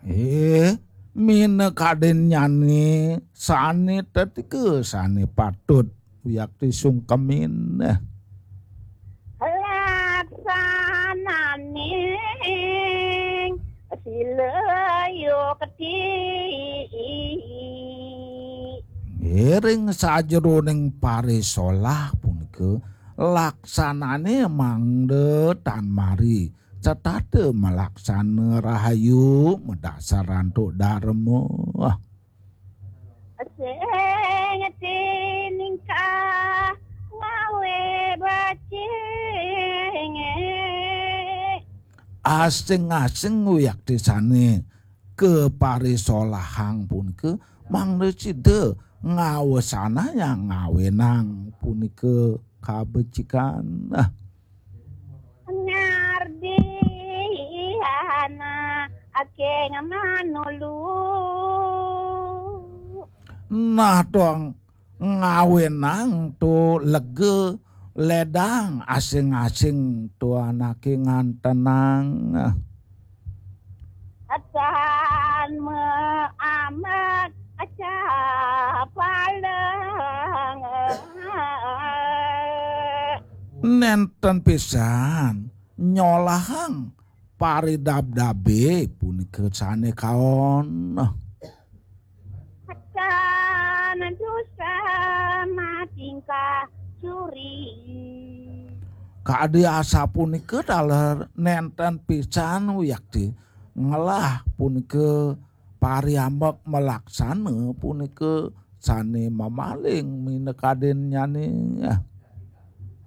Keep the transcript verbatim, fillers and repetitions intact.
Eh, minakadinnyane sane tetika sane patut wiakti sungkemin. Laksananing sila yukti. Ring sajeroning parisolah punika laksanane mangda tan mari setata malaksana rahayu madasar antuk darma. Sing tiningkah ngawe bacing. Asing-asing wiakti sane kaparisolahang punika mangda sida ngawesanayang ngawenang punika kabecikan. Ah, Ngardi ana ake ngamanulu. Nah, tuang ngawenang tu lega ledang asing-asing tu anake ngantenang. Atan me amat aca palang. Nenten pisan nyolahang paridabdabe punika sane kaon. Atan dosa matingkah suri. Kadi asapunika taler nenten pisan wiakti ngelah punika pariambek malaksana punika sane mamaling minakadinnyane.